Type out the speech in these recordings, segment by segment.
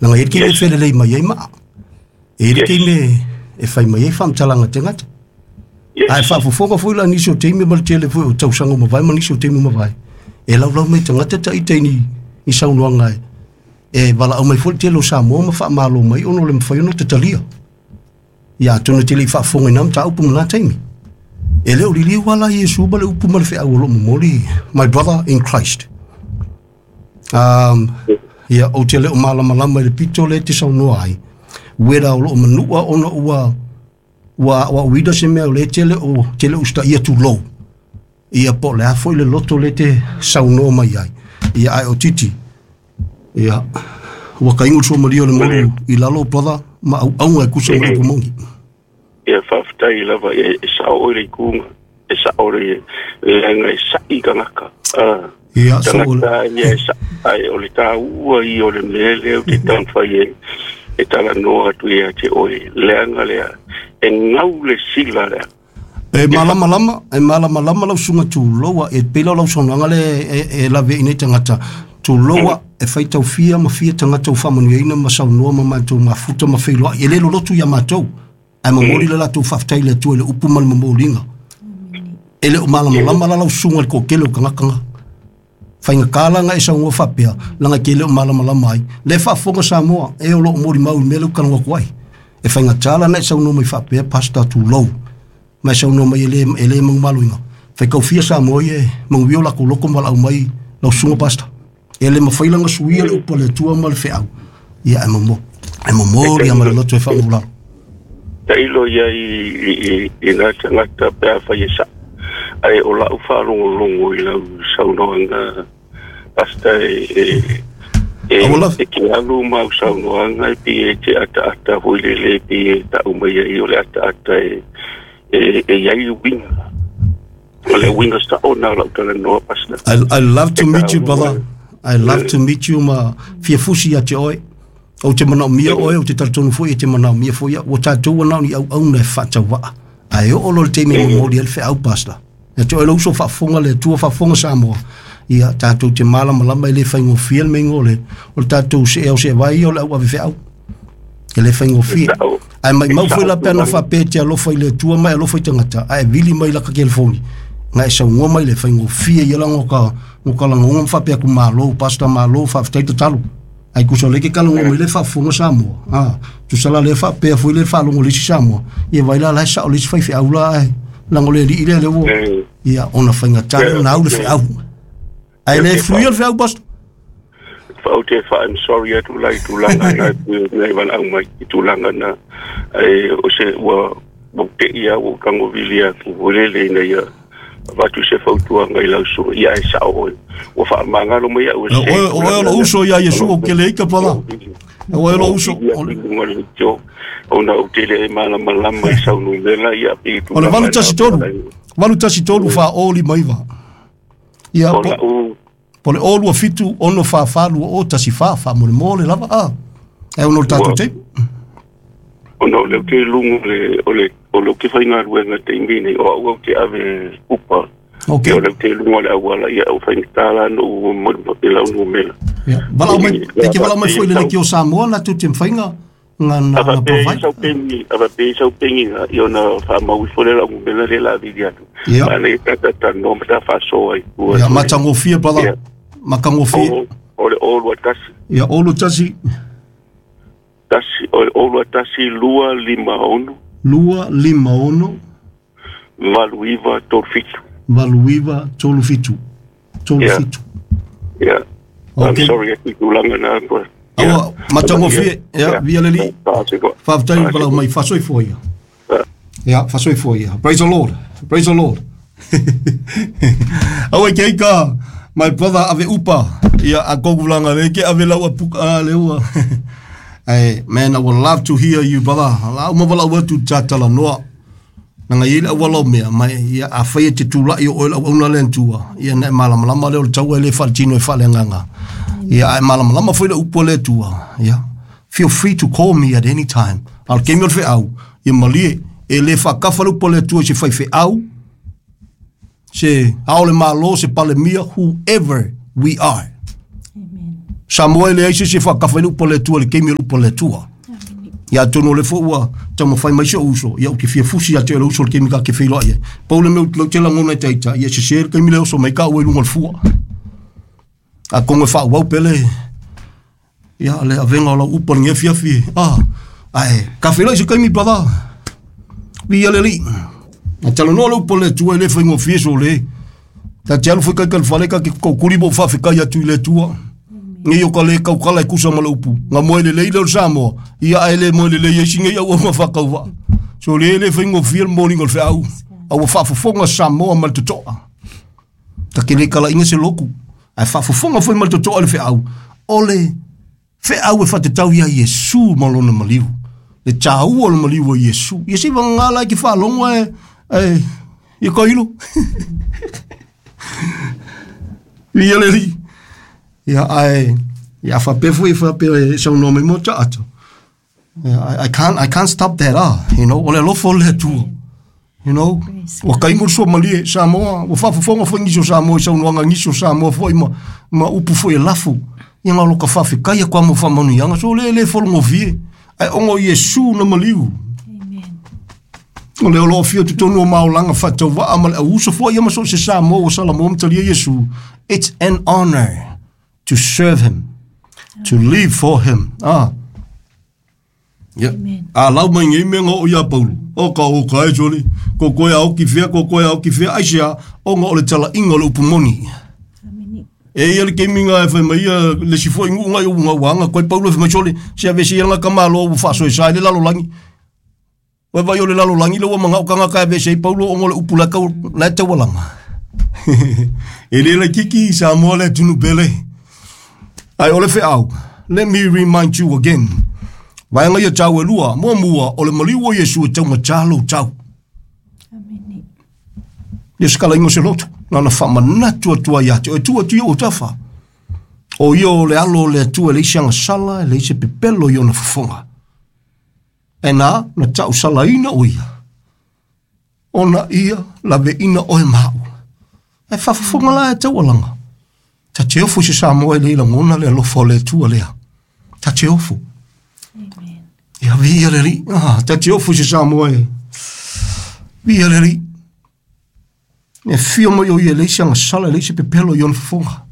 Leaga e i ai le taimi e felelei mai ai maa. E i ai le taimi e fai mai ai faamatalaga a tagata. Ae faafofoga foi la nisi o taimi ma le tele foi o tausaga ua mavae ma nisi o taimi ua mavae, e laulau mai tagata ita i ni saunoaga e valaau mai foi le tele o Samoa ma faamalo mai ona o le mafai ona tatalia. Ia atonu e te le i faafofoga i na mataupu ma na taimi. E le o liliu lava la Iesu ma le upu ma le feau o lo o momoli, my brother in Christ. Ia, ou te le o malamalama i le pito lea e te saunoa ai, whether o lo o manua ona ua ua aoaoina se mea o lea e te le o te le o usitaia tulou. Ia po o le a foi le loto lea e te saunoa mai ai. Ia ae o Titi, ia ua taingo le suamalie o le moru i lalo brother ma auauga e tusa ma le upu moni. Ia faafetai lava e sao oe le ituga, e sao le leaga e sa'i tagata. Ia, so Tagata ia e sa'i, ae o le taua ia o le mea lea ou te taumafai e e talanoa atu ia te oe, leaga lea, e gau le sila lea. E malamalama, e malamalama lau susuga Tuloa, e pei la o lau saunoaga lea e lave i nei tagata, Tuloa e faitau fia ma fia tagata ua faamanuiaina ma saunoa ma matou mafuta ma feiloai, e le lolotu ia matou, ae momoli le latou faafetai i le Atua i le upu ma le momoliga. E le o malamalama la lau susuga i le toatele o tagata na. Faigata la ona e saunoa faapea, leaga e te le o malamalama ai. Lea e faafofoga Samoa, e o lo o molimau i le mea lea ou te talanoa atu ai. E faigata la ona e saunoa mai faapea, Pastor tulou, ma e saunoa mai e le, e le manumaloina. Faitau fia Samoa ia e manuia o latou loto ma valaau mai lau susuga Pastor. E le mafai la ona suia le upu a le Atua ma le feau. Ia, e momo, e momoli lava ma le loto e faamaualalo. Tailo ia i nā tagata pe afai e saʻo, ae o la'u faalogologo i lau saunoaga Pastor e e e te alu ma au saunoaga e pei e te ataata foi lele e pei e ta'u mai ai o le ataata e e i ai uiga. O le uiga sa'o na o la'u talanoa Pastor. I love to meet you brother. I love to meet you ma fia fusi ia te oe. Ou te manaomia oe, ou te talitonu foi e te manaomia foi au. Ua tatou ua na o ni auauna e faatauvaa. Ae oo loa i le taimi e momoli ai le feau, Pastor. Ia te oe lou uso faafofoga le Atua faafofoga Samoa. Ia tatou te malamalama e le faigofie le meiga o le o le tatou see ao see vai ia o le au ave feau. E le faigofie. Ae maimau foi la pe ana faapea e te alofa i le Atua ma e alofa i tagata, ae vili mai laka telefoni, na e saunoa mai le faigofie ia la no ka no ka lagaoga ma faapea atu malo, Pastor malo, faafetai tatalo. Ai tusa o lea e te talanoa mai le faafofoga Samoa, a, tusa la lea faapea foi le faalogo i le isi Samoa, ia vai la la e sao le isi faifeau la ae leaga o le alii lea lea ua, ia ona faigata lea ona au le feau. Ae le fuia le feau, Pastor. Ou te wha I'm sorry atu la i tulaga na e pui o nei walaau mai i tulaga na e o se ua ua te ia ua tango vili atu o lele ina ia avatu se fautuaga i lau susuga ia e sao oe ua faamagalo mai au e se O oe o lou uso ia Iesu o kele ika brother. O oe o lou uso. Ona ou te le malamalama i sau numera ia pe O le 813 813 fa o lima iva. Ia po, po le o lua fitu ono fa fa lua o tasi fa fa mo le mo le lava a. E ono le tatou tape. Ona o lea ou te luga o le, o le, o lea ou te faigaluega i le taimi nei, o au ou te ave upa. Okay. Ia, o lea ou te luga o le auala, ia, ua faigata la ona ou momoli i lau numera. Ia, valaau mai, e te valaau mai foi i le Leitio Samoa na tou te mafai na, na, na, na provide. A faapea i sau peni na, ia ona faamau ifo lea o lau numera lea o le a vili atu. Ia. Manaia pe a ta talanoa ma ta faasoa i tua. Ia, matagofie, brother. Ia. Matagofie. O le 021. Ia, 021. Tasi, o le 0 1 2 5 6. 2 5 6. 8 9 3 7. 8 9 3 7. 3 7. Yeah. Okay. I'm sorry atu i tulaga na. Aua, matagofie. Ia, via le alii. Faafetai le valaau mai. Faasoifua ia. Ia, faasoifua ia. Praise the Lord. Praise the Lord. Aua ke aika, my brother ave upa. Ia, a kogu langa le ke ave lau apuka a le ua. Hey, man, I would love to hear you, brother. La uma wala ua tu tata la noa. Nanga i le auala o mea, mai ia a whai e te tūlai o oe lau auna le antua. Ia na e malamalama le o le taua e le whaletino e whale nganga. Ia a e malamalama foi le upu a le Atua. Ia, feel free to call me at any time. A o le taimi o le feau, ia malie, e le faakafa le upu a le Atua i se faifeau, se ao o le Malo, se Palemia, whoever we are. Samoa le ai se se whakawhai le upa le tua le keimi le upa le tua. Ia tonu le fo ua taumafai mai se uso ia o ke fia fusi ia te le uso le keimi ka ke wheiloa ia. Pau le meu lau te langona e taita ia se se le keimi le oso mai ka ua i lunga le fua. A kongo e wha wau pele ia le avenga o lau upa le nge fiafi. Ah, ai, ka wheiloa i se keimi brother. Via le li. A talo noa le upa le tua i le whaingo fieso le. Ta te alu whakai ka whale ka ke kaukuri mo whawhikai atu i le tua. Ngi o ka le kaukala e kusa ma le upu. Ngā moe le leile o le Samoa. Ia ai le moe le leia isi ngei au ma whakauwa. So le le whaingo fia le mōninga o le wheau. Au whaafofonga Samoa ma le totoa. Ta ke le kala inga se loku. Ai whaafofonga foi ma le totoa le wheau. O le wheau e whatetau ia Iesu ma lona maliu. Le tāua o le maliu o Iesu. Ia si wangala ki whaalongo e ia koilo. Ia le li. Ia ai ia whapefu i whape sau no me mo ta. I can't stop that you know. O le alofa o le Atua. You know. Ua kaimu le suamalie Samoa, ua faafofoga foi nisi o Samoa i saunoaga nisi o Samoa foi ma upu foi e lafu. Ia ngā loka whawhikaia kwa mo whamanuianga, so le le folongofie. Ai ongo Iesu na maliu. Amen. O le olo fia tutonu o maolanga whatawa ma le auso foi ia maso se Samoa o Salamo mtalia Iesu. It's an honor to serve him, to live for him. Ah. Yeah. A lau mai ngai mea o ia Paulu. O ka o ka e soli. Ko koe au ki fea, ko koe au ki fea. Ai sea, o ngā o le tala inga o le upu moni. E ia le keminga e whai mai ia le sifo ingu ngai o ngā wanga. Koe Paulu e whai mai soli. Se ave se ia ngā kamalo o whaso e sa i le lalo langi. Wai vai o le lalo langi le ua manga o kanga ka ave se i Paulu o ngā le upu la kau la te walanga. E le la kiki sa moa le tunu pele. Ai o le wheau. Let me remind you again. Vaenga ia tau e lua, mua mua, o le maliu o Iesu e tau matalo tau. Amen. Ia skala ingo se loto, na na whamanatu atua ia te, o tua atu ia o tawha. O ia o le alo o le atua le isi anga sala, le isi pepelo i ona fafonga. E nā, na tau sala ina o ia. Ona ia, lawe ina oe mau. E whafafonga la e tau alanga. Ta te ofu se Samoa e le ila ngona le alofa o le atua lea. Ta te ofu. Amen. Ia via le ri. Ah, ta te ofu se Samoa e. Via le ri. E fio mai o ia le isi anga sala le isi pepelo i ona fafonga.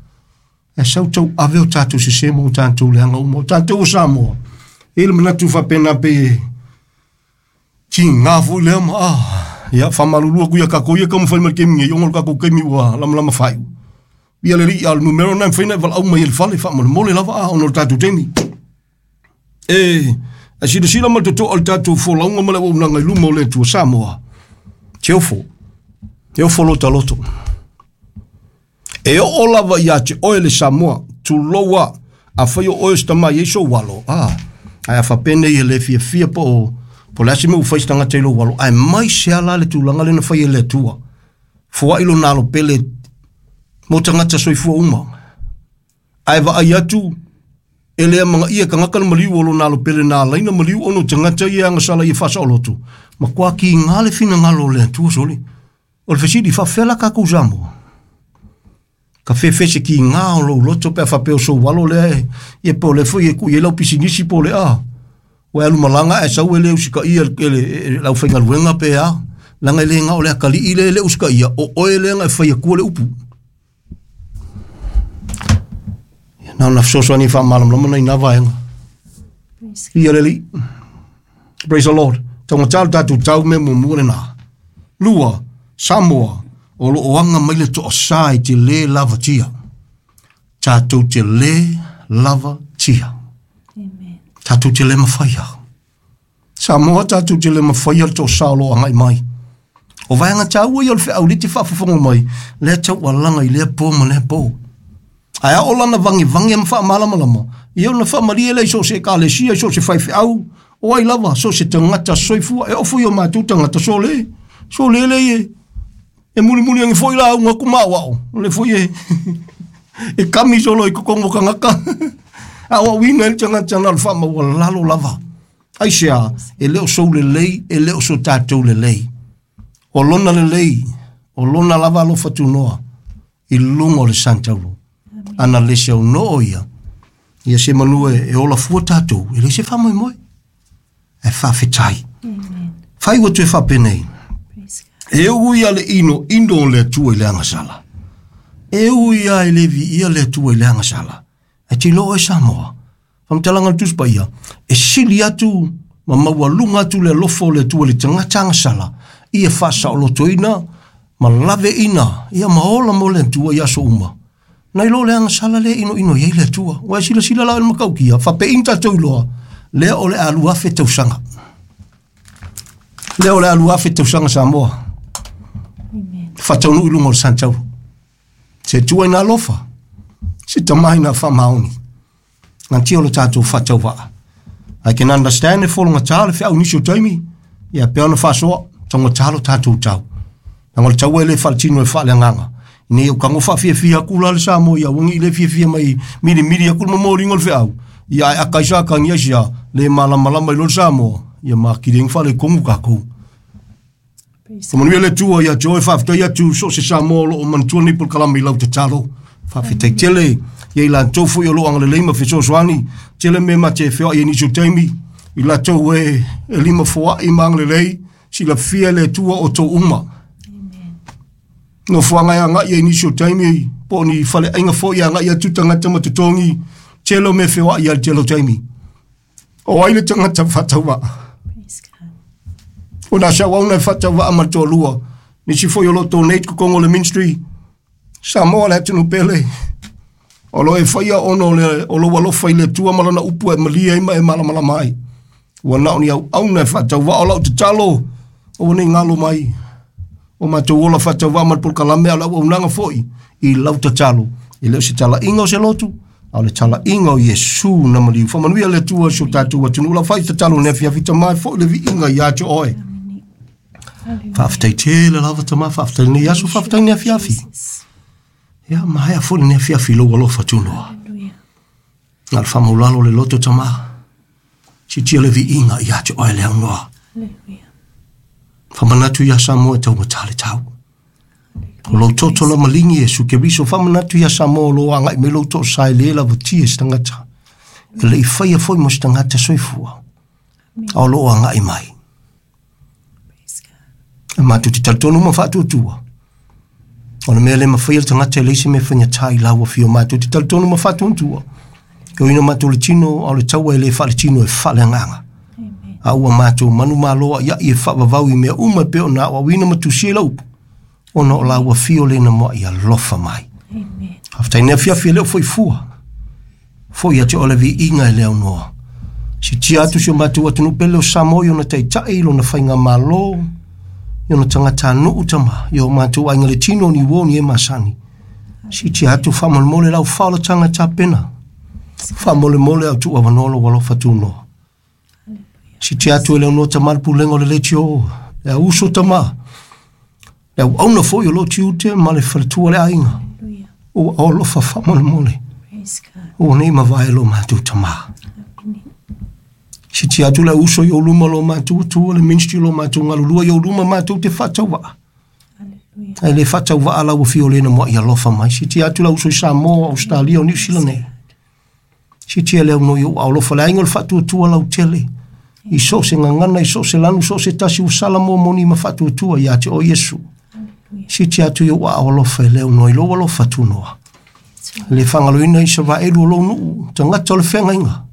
E sau tau ave o tātou se semo o tātou le anga uma o tātou o Samoa. E le manatu whapena pe ti ngā fui lea ma. Ah, ia whamalulua ku ia kako ia kamu whai mai kemi ngai ongol kako kemi ua lama lama whai. Ia le ri al numero nai whaina wala au mai ele whale whamole mole lava a ono tātou temi. E, a sila sila ma toto al tātou folaunga ma le wa unanga i luma o le tua Samoa. Te ofo. Te ofo lota loto. E o lava ia te oe le Samoa, tu loa, a whai o oe sta mai eiso walo. Ah, ai a whapene i le fia fia po o, po le asime u whai stanga te lo walo. Ai mai se ala le tūlanga le na whai e le tua. Fua ilo nalo pele, mo tangata soifua uma. Ai wa ai atu, e lea manga ia kangaka na maliu o lo nalo pele nā laina maliu ono tangata ia anga sala ia whasa o lotu. Ma kua ki ngā le whina ngalo le atua soli. O le whesiri whawhela kakou Samoa. Ka whewhese ki ngā o lo loto pe whapeo so walo lea e. Ia po le fui e kui e lau pisinisi po le a. O e alu malanga e sau e le usika ia e lau whainga luenga pe a. Langa e le ngā o le akali i le le usika ia. O oe le nga e whai akua le upu. Nā na whsoso ani wha malam lama nei nā vaenga. Ia le li. Praise the Lord. Tau ngā tātou tau me mumu le nā. Lua, Samoa, o lo oanga mai le toa sa i te le lava tia. Tātou te le lava tia. Amen. Tātou te le mawhaia. Samoa tātou te le mawhaia le toa sa o lo angai mai. O vaenga tāua i o le wheau le te whaafafonga mai. Lea tau alanga i lea pō ma lea pō. Ai a o lana vangi vangi am wha malama lama. Ia ona wha marie le so se ka le sia so se whai wheau. O ai lava so se tangata soifua. E ofu i o mātou tangata so le. So le le e. E muli muli angi foi la unga kuma wao. Le foi e. E kami solo i kokongo kangaka. A o wina el tangata na le wha maua lalo lava. Ai sea, e leo sou le lei, e leo so tātou le lei. O lona le lei, o lona lava alo whatunoa. I lunga o le santaulo. Ana lese au noo ia. Ia se manu e ola fua tātou, e le se whamoemoe. E whawhetai. Amen. Whai ua toe whapenei. Praise God. E ui a le ino, ino o le Atua i le agasala. E ui a e le viia le Atua i le agasala. E te loa e Samoa. Whamtalanga le Tusi Paia, e sili atu ma maualuga atu le alofa o le Atua i le tagata agasala, ia faasaolotoina ma laveina, ia ma ola mo le Atua i aso uma. Nai lo le agasala le inoino i ai le Atua. Ua e silasila la o le matautia, faapeina tatou iloa, lea o le a 2000 tausaga. Lea o le a 2000 tausaga Samoa. Amen. Faataunuu i luga o le Santauro. Se Atua ina alofa, se Tama ina faamaoni. Gantia o le tatou faatauvaa. I can understand e fologata le feau nisi o taimi, ia pea ona faasoa, taugata lo tatou tau. Leaga o le taua e le faaletino e faaleagaga. Ina ia kago faafiafia aku la le Samoa ia uagi i le fiafia mai milimili aku le momoliga o le feau. Ia ae aka isa akangia isia le malamalama i lo le Samoa. Ia makilegi faaletonu kākou. Praise Faamanuia le Atua ia te oe, faafetai atu so o se Samoa o loo manatua nei polokalame i lau tatalo. Faafetai tele ia i latou foi o loo agalelei ma fesoasoani. Tele mea ma te feoai ai nisi o taimi i latou e lima foai ma agalelei, silafia e le Atua o outou uma. Amen. Nofoaga e agai ai nisi o taimi, po o ni faleaiga foi e agai atu tagata ma totogi, tele o mea feoai ai le tele o taimi. O ai le tagata faatauvaa? Praise God. O nā sauauna e faatauvaa ma le toalua. Nisi foi o lo o donate kokogo o le ministry. Samoa le atunuu pele. O lo e faia ona o le o lou alofa i le Atua ma lana upu e malie ai ma e malamalama ai. Ua na o ni auauna e faatauvaa o lau tatalo, aua ne i galo mai. O matou ola faatauvaa ma le polokalame a o le auaunaga foi i lau tatalo. E le o se talaiga o se lotu, a o le talaiga o Iesu na maliu. Faamanuia le Atua i si o tatou atunuu. Lau fai tatalo nei afiafi Tama e foi le viiga ia te oe. Amen. Hallelujah. Faafetai tele lava Tama, faafetai lenei aso, faafetai lenei afiafi. Jesus. Ia, maea foi lenei afiafi i lou alofa tunoa. Hallelujah. Na o le faamaulalo le loto Tama, sitia le viiga ia te oe le aunoa. Hallelujah. Famanatu ia Samoa e taugata le tau. O lou toto na maligi Iesu Keriso, famanatu ia Samoa o lo agai mai lou toosa e le lavatia e se tagata. E le i faia foi mo se tagata soifua. Amen. A o loo agai mai. Praise God. E matou te talitonu ma faatuatua. O le mea le mafaia le tagata e leai se mea faigata i lau afio. Matou te talitonu ma faatuatua. E oina matou le tino, a o le taua e le faaletino e faaleagaga. Amen. A ua matou manumalo ai e faavavau i mea uma e pei ona aoaoina ma tusia i lau upu. Ona o lau afio le na moa i alofa mai. Amen. Faafetai nei afiafi e le o foi fua. Foi ia te oe le viiga e le aunoa. Sitia atu si o matou atunuu pele o Samoa i ona taitai, i lona faigamalo, i ona tagatanuu Tama, i o matou aiga le tino ni uo ni e masani. Sitia atu faamolemole lau faaolataga tapena. Faamolemole au tuu avanoa lou alofa tunoa. Sitia atu e le aunoa Tama le pulega o le leitio, le auuso Tama, le auauna foi o loo tiute ma le faletua le aiga. Hallelujah. Ua alofa faamolemole. Praise God. Ua nei mavae lo matou Tama. Amen. Sitia atu le auuso i ou luma lo matou atua, le ministry lo matou galulua i ou luma matou te faatauvaa. Hallelujah. Ae le faatauvaa lau afio le na moa i alofa mai. Sitia atu le auuso i Samoa, Australia, o Niu Sila nei. Sitia le aunoa i ou alofa le aiga o le faatuatua lau tele. I so o se gagana, i so o se lanu, so o se tasi ua sala momoni ma faatuatua ia te oe Iesu. Hallelujah. Sitia atu i ou aao alofa e le aunoa i lou alofa tunoa. Le fagaloina i Isaraelu o lou nuu, tagata o le feagaiga.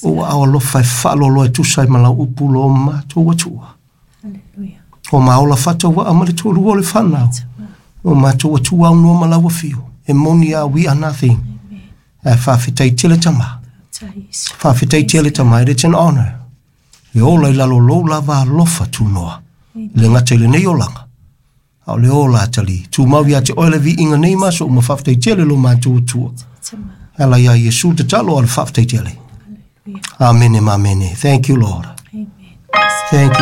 O aao alofa e faaloloa e tusa ai ma lau upu lo matou atua. Hallelujah. O maola faatauvaa ma le toalua o le fanau. O matou atua aunoa ma lau afio. E moni a we are nothing. Amen. Ae faafetai tele Tama. Praise. Faafetai tele Tama. It's an honor. E ola i lalo lou lava alofa tunoa. Le gata i lenei olaga. A o le ola atali. Tumau ia te oe le viiga nei ma so uma faafetai tele lo matou atua. Tama. Ala ia Iesu tatalo a le faafetai tele. Hallelujah. Amene ma amene. Thank you, Lord. Amen. Thank you.